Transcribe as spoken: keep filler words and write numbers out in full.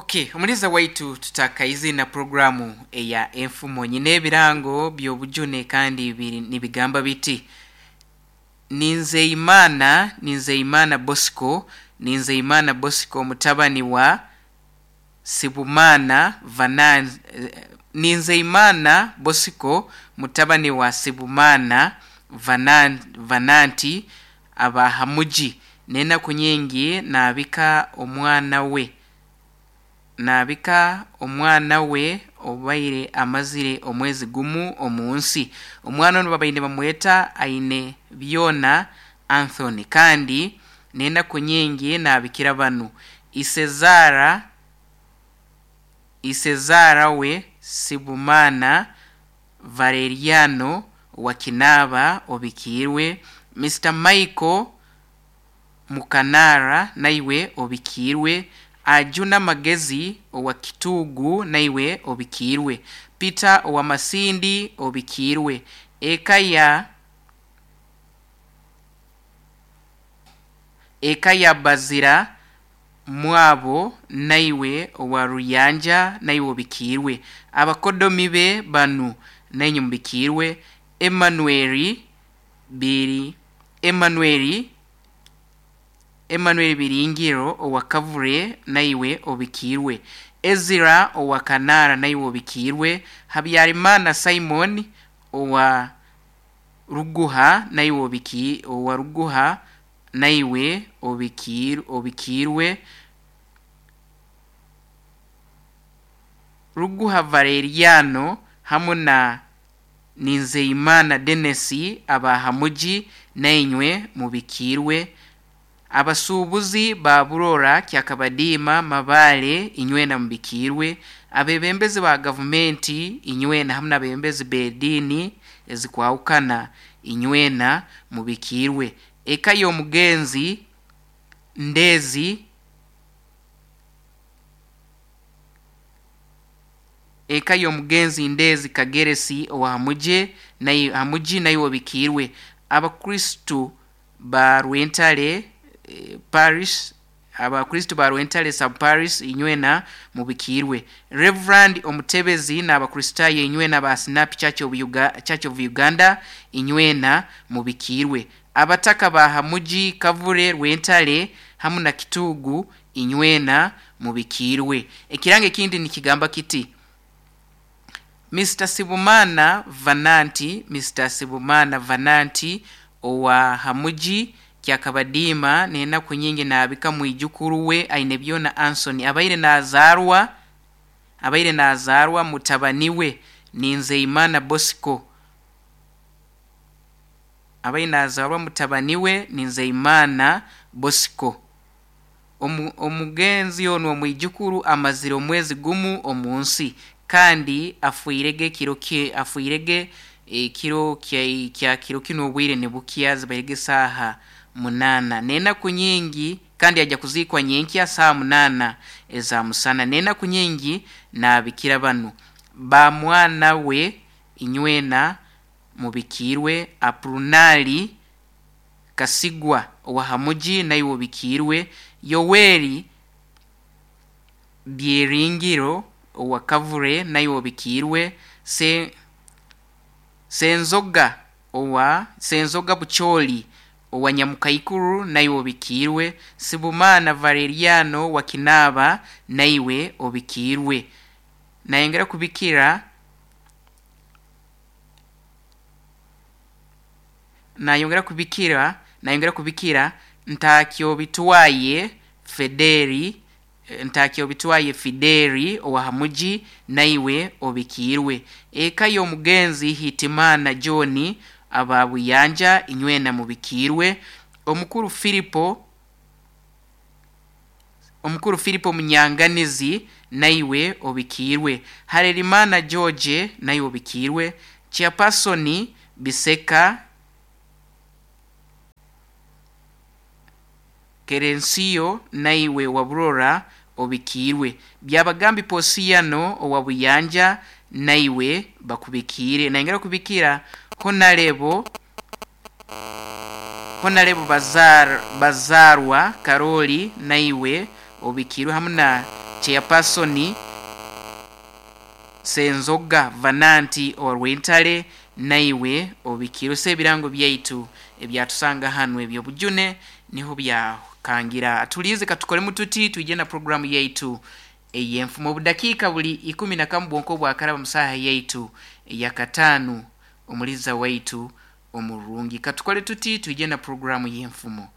Okay, omuliza waitu tutakaize na programu eya enfumo nyine ebirango by'obujune kandi biri nibigamba biti Ninzeimana Ninzeimana Bosco Ninzeimana Bosco mutabani wa Sibumana Vanan Ninzeimana Bosco mutabani wa Sibumana Vanan, Vananti abahamuji n'enaku nyingi naabika omwana we naabika omwana we obaire amazire omwezi gumu omu nsi. Omwana onu babaire bamweta aine byona Anthony, kandi n'enaku nyingi naabikira banu Isezara Isezara we Sibumana Valeriano wa Kinaba obikiirwe, Mister Michael Mukanara naiwe obikiirwe, Ajuna Magezi owa Kitugu naiwe obikiirwe, Peter owa Masindi obikiirwe, eka ya eka ya Bazira Mwabo naiwe owa Ruyanja naiwe obikiirwe, abakodomi be banu nainye mubikiirwe, Emmanuel biri Emmanuel Emmanuel Biringiro owa Kavure naiwe obikiirwe, Ezra owa Kanara naiwe obikiirwe, Habyarimana Simon owa Ruguha naiwe obiki owa Ruguha naiwe obikiir obikiirwe, Ruguha Valeriano hamu na Ninzeimana Dennis abahamuji nainywe mubikiirwe, abasuubuzi ba Burora Kyakabadiima Mabale inywena mubikiirwe, abebembezi ba gavumenti inywena hamu n'abebembezi b'ediini ezikwahukana inywena mubikiirwe, eka y'omugenzi Ndezi eka y'omugenzi Ndezi Kageresi owa Hamuje nayo Hamuji nayo obikiirwe, abakristu ba Rwentale Parish abakristu ba Rwentale sub parish inywena mubikiirwe, Reverend Omutebezi n'abakristayo inywena ba Snap Church of, Uga, Church of Uganda inywena mubikiirwe, abataka ba Hamuji Kavure Rwentale hamu na Kitugu inywena mubikiirwe. Ekirango ekindi nikigamba kiti Mister Sibumana Vananti Mister Sibumana Vananti owa Hamuji Kyakabadiima n'enaku nyingi naabika mwijukuru we aine byona Anson abaire nazaarwa abaire nazaarwa mutabani we Ninzeimana Bosco abaire nazaarwa mutabani we Ninzeimana Bosco. Omu, omugenzi onu omwijukuru amazire omwezi gumu omu nsi kandi afuirege ekiro kye afuirege ekiro kya kya kiro kino obwire nibukya zibairege saaha munana n'enaku nyingi kandi ajja kuziikwa nyenkya saaha munana eza musana n'enaku nyingi naabikira banu ba mwana we inywena mubikiirwe, Aprunali Kasigwa owa Hamuji naiwe obikiirwe, Yoweri Byeringiro owa Kavure naiwe obikiirwe, Se Senzoga owa Senzoga Bucholi owa Nyamukaikuru naiwe obikiirwe, Sibumana Valeriano wa Kinaba naiwe obikiirwe. Nayongera kubikira nayongera kubikira nayongera kubikira Ntakyo bitwaye Federi Ntakyo bitwaye Fideri owa Hamuji naiwe obikiirwe, eka y'omugenzi Hitimana John aba Buyanja inywena mubikiirwe, omukuru Filipo omukuru Filipo Munyanganizi naiwe obikiirwe, Harerimana George naiwe obikiirwe, Chairperson Biseka Kerensiyo naiwe wa Burora obikiirwe, Byabagambi Posiyano owa Buyanja naiwe bakubikiire. Nayongera kubikira Honarebo Honarebo Bazar, Bazarwa Karoli naiwe obikiirwe hamu na Chairperson Senzoga Vananti owa Rwentale, naiwe obikiirwe. So ebirango byaitu ebyatusanga hanu ebyobujune niho byakangira. Tulize katukolemu tuti twije na programu yaitu ey'enfumo. Obudakiika buli ikumi na kamu bwonka obwakaraba musaha yaitu eyakataano, omuliza waitu omurungi, katukole tuti twije na programu y'enfumo.